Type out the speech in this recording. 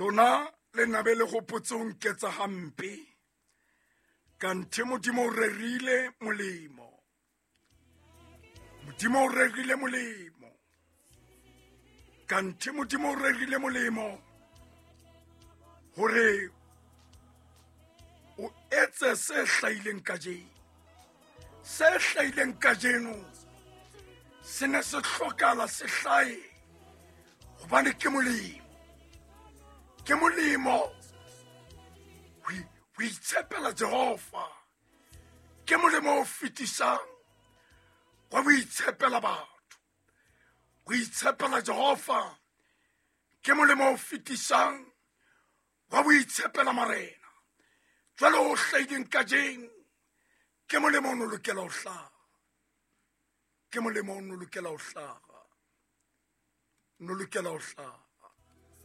Lona le nabe le gopotse o nketsa gampe, kanthe Modimo o rerile molemo. Modimo o rerile molemo, kanthe Modimo o rerile molemo hore o etse se hlahileng kajeno. Se hlahileng kajeno se ne se hlokala se hlahe, gobane ke molemo. Ke molemo ho itshepela Jehova, ke molemo o fetisang wa ho itshepela batho. Ho itshepela Jehova ke molemo o fetisang wa ho itshepela marena. Jwale o hlahileng kajeno ke molemo o no lokela ho hlaha, ke molemo o no lokela ho hlaha, no lokela ho hlaha.